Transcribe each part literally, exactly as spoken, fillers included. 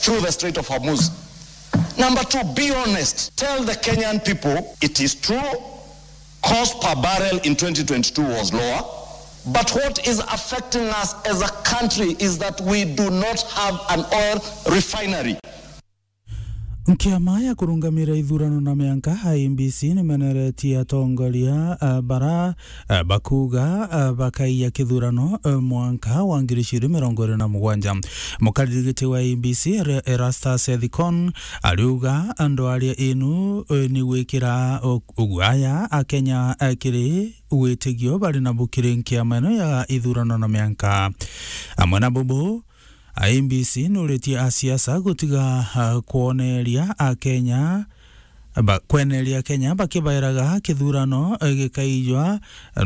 through the Strait of Hormuz. Number two, be honest. Tell the Kenyan people it is true, cost per barrel in twenty twenty-two was lower. But what is affecting us as a country is that we do not have an oil refinery. Nkiama ya kurungamira ithurano na mianka, I E B C, nimeneretie atongoria, eh, bara, eh, bakuga, eh, bakaiya kithurano, eh, mwanka wa ngiri igiri mirongo iri na mugwanja. Mukariri giti wa I E B C, Ere-, Erastus Ethicon, ariuga ndwaria inu, eh, ni gwikira u-, ugwaya Akenya, eh, kiri witigio bari nabu kiri nkiama ino ya ithurano na mianka. Amwe na bubu, I E B C nuritie asiasa gutiga, ah, kwoneria Akenya, ba-, kweneria Akenya bakibairaga kithurano, eh, gikaijwa,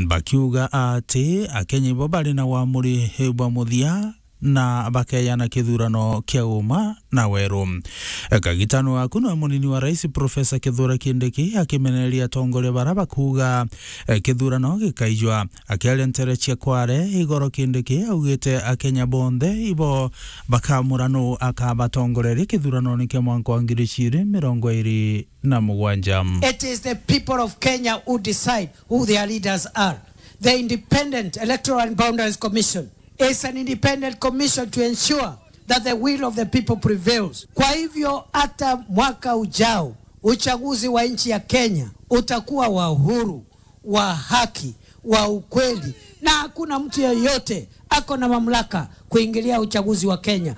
bakiuga ati Akenya ibo bari na wamuri, eh, bwa muthia na bakeyana kithurano kia uma na weru. Eh, kagitano aku nwe munini wa rais Professor Kithure Kindiki akimeneria atongoria bara bakuga, eh, kithurano gikaijwa. Akiaria nteere cia Kware igoro Kindiki augite Akenya bonthe ibo bakamura nuu akabatongoreria kithuranone kia mwanka wa ngiri igiri mirongo iri na mugwanja. It is the people of Kenya who decide who their leaders are. The Independent Electoral and Boundaries Commission is an independent commission to ensure that the will of the people prevails. Kwa hivyo, hata mwaka ujao, uchaguzi wa nchi ya Kenya utakuwa wa uhuru, wa haki, wa ukweli, na hakuna mtu yeyote ako na mamlaka kuingilia uchaguzi wa Kenya.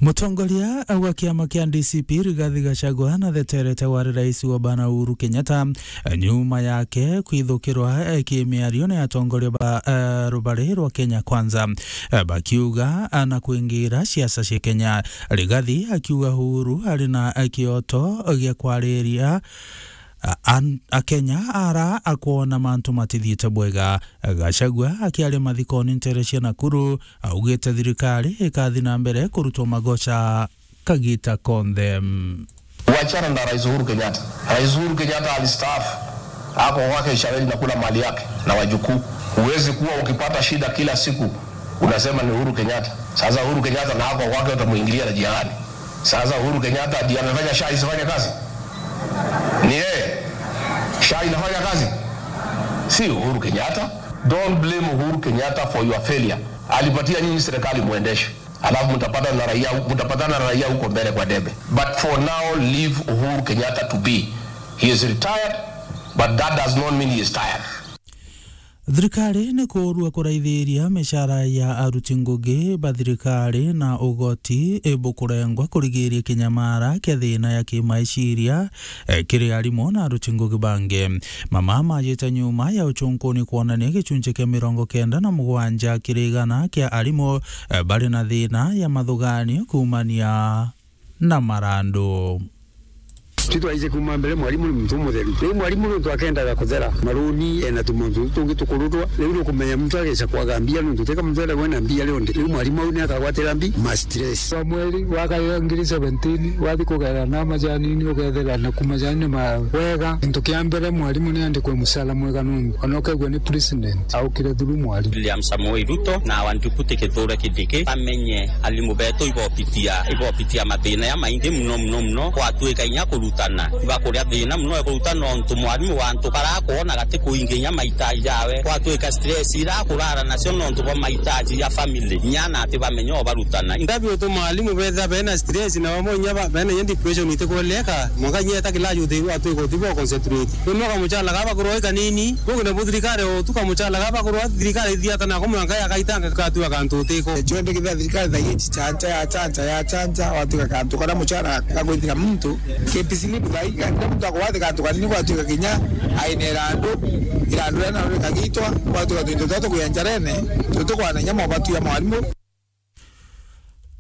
Mutongoria wa kiama kia D C P Rigathi Gachagua natheterete wari rais wa bana Uhuru Kenyatta, nyuma yake kwithukirwa, eh, kimiario ni atongoria ba, eh, rubari rwa Kenya Kwanza, eh, bakiuga, ah, na kuingira siasa cia Kenya. Rigathi akiuga Uhuru ari na, eh, kioto gia kwariria, a-, an-, Akenya ara akwona mantu matithiite bwega. Gachagua akiaria mathikoni nteere cia Nakuru, augite thirikari ikathi na mbere kurutwa magoca kagita konthe. Wachana na Rais Uhuru Kenyatta. Rais Uhuru Kenyatta alistaafu. Ako kwake Ishaweli na kula mali yake na wajukuu. Huwezi kuwa ukipata shida kila siku unasema ni Uhuru Kenyatta. Sasa Uhuru Kenyatta na ako kwake utamuingilia na jia gani? Sasa Uhuru Kenyatta ndiye amefanya SHA isifanye kazi? Ni yeye? SHA inafanya kazi? Si Uhuru Kenyatta. Don't blame Uhuru Kenyatta for your failure. Alipatia nyinyi serikali muendeshe. Alafu mtapata na raia, mtapatana na raia huko mbele kwa debe. But for now, leave Uhuru Kenyatta to be. He is retired, but that does not mean he is tired. Thirikari ni kuurua kuraithiria micara ya aruti ngugi ba thirikari na ugoti ibukurengwa kurigiria kinyamara kia thina ya kimaiciria, eh, kiri arimu na aruti ngugi bangi. Mama majite nyuma ya uchunkuni kwonania gicunci kia mirongo kenda na mugwanja kiri igana kia arimu, eh, bari na thina ya mathuganio kuumania na marandu. Ti twaije kuuma mbere, mwarimu ni muntu umutheru. Riu mwarimu nontu akendaga kuthera maruni, ena tumuntu tutu tungi tukurutwa. Riu nukumenya muntu ageca kwaga mbia nontu teka muntu eragwa ena mbia rionthe. Riu mwarimu au ni akagwatira mbi ma stress. Wa mweri wa kayo ngiri seventeen, wathi kugera na majanini, ugethera na ku majanini ma wega. Kintu kia mbere, mwarimu ni andikwe mucara mwega nontu ona ukegua ni president, aukire through mwarimu. William Samoei Ruto na wa Deputy Kithure Kindiki bamenye arimu betu ibopitia, ibopitia mathina ya maingi muno, muno, muno. Gwatuika inya kurutana, ibakuria thina muno ya kurutana nontu mwarimu wa antu bara akwona gati kuinginya mahitaji jawe. Gwatuika stress ira akurara nacio nontu bwa mahitaji ya family, inya na ati bamenye o barutana. Ndabi utuma arimu betha bena stress na bamwe inya ba-, bena inya depression itikweleka. Mwanka inya eta kila juthe gwatuika utibo concentrate. Rimwe kamuchala gaba kurwa i kanini, bugi na buthirikari o tu kamuchala gaba kurwa thirikari ithiata nako mwanka yakaitanga katu akantu utiko. Chwende kitha thirikari thaie chichancha, ya chancha, ya chancha, watu gakantu kana muchara gagwithira muntu. K P C ni buthai, kila muntu akwathi kantu kanini gwatuika kinya aine irandu, irandu ria naro rikagitwa, gwatuika twinto twa tukuya njarene, tutukwana inya mobatu ya mwarimu.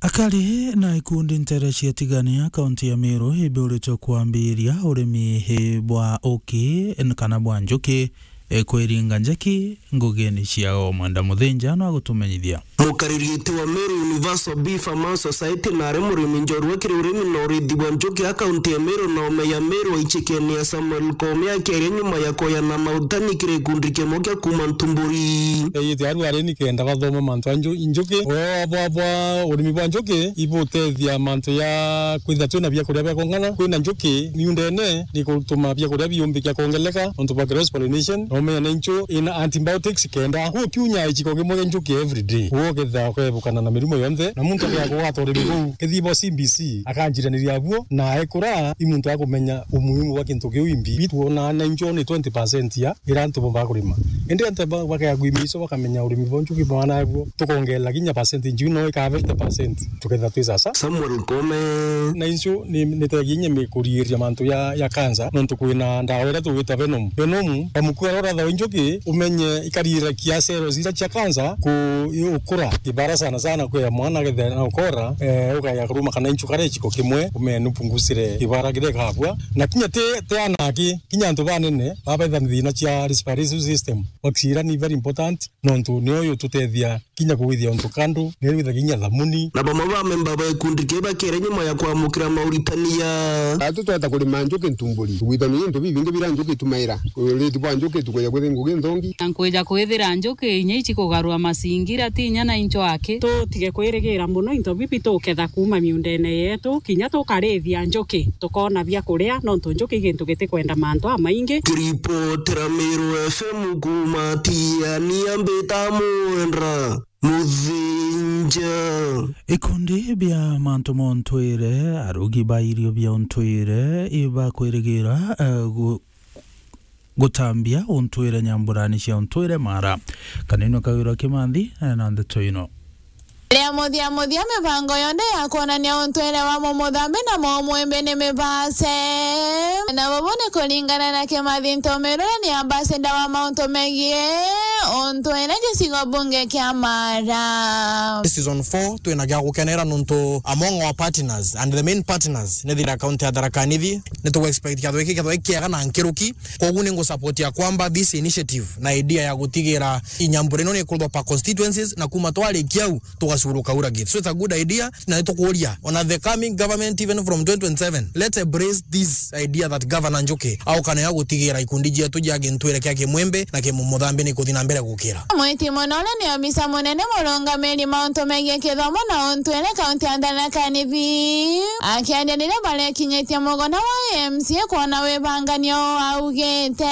Akari na ikundi ntere cia Tigania, kaunti ya Meru, ibiuritwe kwambiria urimi bwa uki kana bwa njuki e, kwiringa njaki ngugine ciao. Mwenda Muthinja no agutumenyithia. Mukariri iti wa Meru Universal Beef Farmers Society na ari murimi njorua kiri urimi na urithi bwa njuki a kaunti ya Meru na ome ya Meru aichikene ya Samuel Koome akiaria nyuma ya kuyana mautani kiri gikundi kimwe kia kuuma Ntumburi. Ithia aru ari ni kenda bathoma mantu a nju-, njuki. Wea bwa, bwa urimi bwa njuki ibutethia mantu ya kwithia twina biakuria bia kung'ana. Kwina njuki miundene ni kutuma biakuria biumbikia kwongeleka nontu bwa cross pollination, na umenya ni nju ina antibiotics kenda gukiunya ichiko kimwe kia njuki every day. Uguo ukethira ukebukana na mirimu yonthe, na muntu akea kugwata urimi buu. Kethira bo C B C akanjiraniria abuo, na ekura i muntu akumenya umuhimu bwa kintu kiu imbi. Bitwona na nju ni twenty percent ya ira antu bombaa kurima. Indi antu ba-, bakea kwimiso bakamenya urimi bwa njuki bwana abuo, tukongerera kinya percent nju no ika fifty percent. Tukethira twi sasa. Samuel Koome. Na insu ni, ni teginya mi kuriiria mantu ya, ya cancer, nontu kwina ndawa iria tugwita Venom. Venom, bamukua rora thawa injuki, umenye ikariira kia cells iria cia cancer ku-, ukura. Kibara sana sana kwi ya mwana akethira na ukora, eh, ukaya kuruma kana inchu kare ichiko kimwe, umenye nupungusire kibara kiria ikabua. Na kinya ti, ti anaki, kinya antu banene, babaitha na thina cia respiratory system. Oxygen ni very important, nontu nio yututethia kinya kugwithia untu kandu, ni withagia kinya thamuni. Na bamwe ba memba ba gikundi kiu bakere nyuma ya kwamukira mauritania. Atu tweta kurima njuki Ntumburi, tugwitania into bibingi bira njuki itumaira. Uriti bwa njuki tukwija kwithia ngugi nthongi. Na nkwija kwithira njuki inya ichi kugarua masingira ti inya na incho aki. Tutige kwirigira mono into bibi tuketha kuuma miundene yetu, kinya tukarithia njuki, tukoona bia kuria, nontu njuki i gintu gitikwenda mantu amaingi. Kiripotera Meru F M kuuma Tiania, mbita Mwenda Muthinja. Ikundi bia mantu ma untwire, arugi ba irio bia untwire, ibakwirigira, eh, gu-, gutambia untwire nyamburani cia untwire mara. Kanini Kawira Kimanthi, eh, na ndeto ino. Ria muthia muthia, mibango yonthe ya kwonania untwire wa mumuthambi na mumwimbi ni mibase. Na bubu ni kuringana na Kimathi Ntomerure, ni ambassador wa mauntu megie untwire gicigo bunge kia Mara. Season four twina gia gukenera nontu among our partners and the main partners ni thira county ya Tharaka Nithi. Ni tugu expect kiatho giki kiatho giki kiega na nkiruki. Koguo ni ngu support ya kwamba this initiative na idea ya gutigira inyambura ino ni ikurwa per constituencies, na kuma twarikia au tugacuruka ura gate. So it's a good idea, na nitukuria ona the coming government, even from twenty twenty-seven, let's embrace this idea that Governor Njuki aukana ya gutigira ikundi cietu cia gintwire kia Kimwembe na Kimumuthambi ni kuthi na mbere gukira. Mwiti Munore ni obisa munene murungamiri mauntu megie kithomo na untwire kaunti ya Tharaka Nithi. Akiaria riria barekinyitie mugona wa M C A kwona wibanganio augite.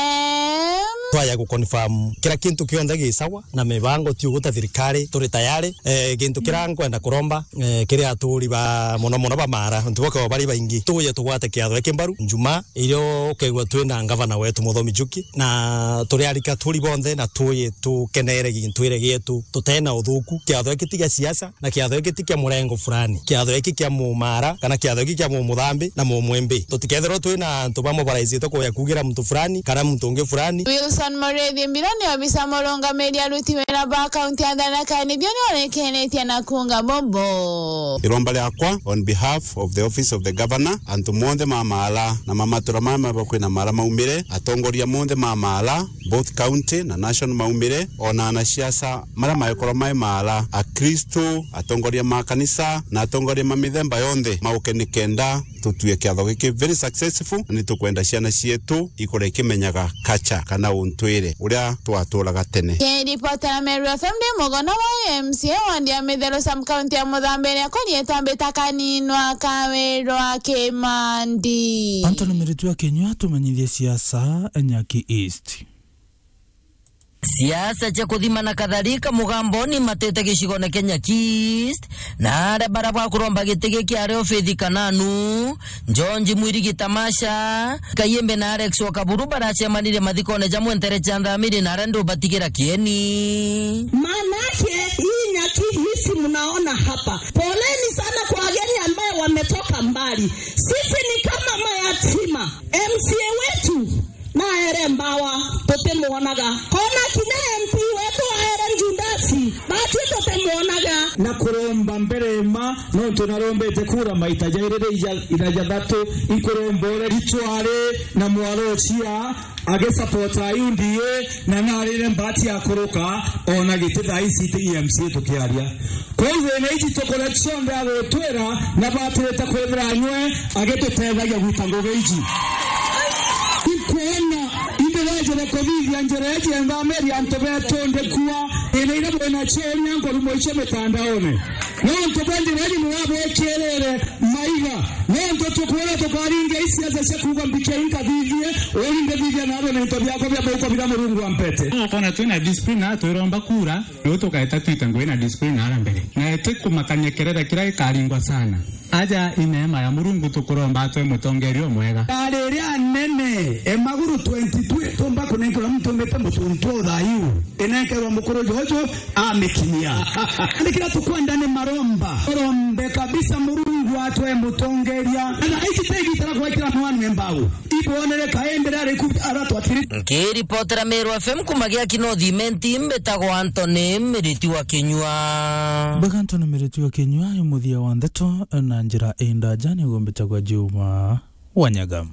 Twaya gu confirm kira kintu kionthe gi sawa na mibango ti uguta thirikari, turi tayari. Eh, gintu kiria nkwenda kuromba, eh, kiri aturi ba muno muno ba Mara, ntu boke bari baingi, tuye tugwate kiatho giki mbaru. Njuma irio ukegua twina ngavana wetu Muthomi Njuki, na turi arika turi bonthe na tuye tukenere gintwire gietu, tutena uthuku. Kiatho giki ti gia siasa, na kiatho giki ti kia murengo fulani. Kiatho giki kia Mumara, kana kiatho giki kia Mumuthambi na Mumwembe. Tutikethirwa twina antu bamwe baraicite kuya kugira muntu fulani kana muntu ungi fulani. Wilson Muriithi Mbiro ni obisa murungamiri aruti wira ba kaunti ya Tharaka Nithi, ni orekenetie na kuuga bubu. Iromba riakwa on behalf of the office of the governor, antu monthe ma Mara na ma matura maya maba kwina Mara maumire, atongoria monthe ma Mara, both county na national maumire, ona anasiasa maria maekorwa mai Mara, Akristo, atongoria ma kanisa na atongoria ma mithemba yonthe mauke nikenda tutue kiatho giki very successful, na nitukwenda ciana cietu ikure ikimenyaga culture kana untwire uria twaturaga tene. Kiripotera Meru F M ndi mugona wa M C A wandi ya Mitheru sub county ya Muthambi, riakwa rietwa Mbita Kaninwa Kawirwa Kimandi. Anthony Miritu akinyua tumenyithie siasa Nyaki East. Siasa cia kuthima na kadhalika mugamboni matete gicigone kia Nyaki East, na aria bara bwa kuromba giti giki ari Obithi Kananu, George Mwirigi Tamasha, Kayembe na Alex Wakaburu baracemanire mathikone jamwe ntere cia Nthamiri na aria ndubatigira kieni. Maanake hii Nyaki East mnaona hapa, poleni sana kwa wageni ambaye wametoka mbali. Sisi ni kama mayatima, M C A wetu na aere mbawa, tutimuonaga. Ona kinya M P wetu aere Judasi, batu tutimuonaga. Na kuromba mbere ma, nontu Narombete kura maita jairi ri ija-, ira jathatu, inkuromba uria ritwari na mwaro ucia agisapota U D A, na narire mbati ya kuruka ona giti thaa ici tigi M C A tukiaria. Kwou thina iji tukuria cionthe agutwira na batirite kwithira anywe agitutethagia gwita ngugi iji. Ikwona, indirejere kuthithia njira iji enthamiri antu betu ndikua, thina iria bwina cionia nkurumo icio mitandaone. Nontu bwa njira iji murabwikirire maiga, nontu tukwira tukaringia isiasa cia kuuga mbikia inkathithie, uri ndithithia narua na into biakwa bia mauko biria Murungu ampete. Ukona twina discipline na twiromba kura, riu tukaeta twita ngugi na discipline ara mbere. Na ti kumakania kerere kiria gikaringwa sana. Aja i neema ya Murungu tukuromba atwe mutongeria umwega. Ari iria anene, e maguru twenty-two, tumba kunenkerwa muntu umite mutuntu uthayu. Inenkerwa mukuru Jojo amikinyia. Ni kira tukwenda ni maromba. Urombe kabisa Murungu atwe mutongeria. Na iji tegi tara gwekira mwana mbau. Ibonere kaendera riku aratwatiri. Nkiripotera Meru F M kuma Giaki North Imenti, mbitagwa Anthony Miriti wa Kinyua. Bega Anthony Miriti wa Kinyua, i muthia wa ndeto na njira indaja ni gumbitagwa Juma Wanyaga.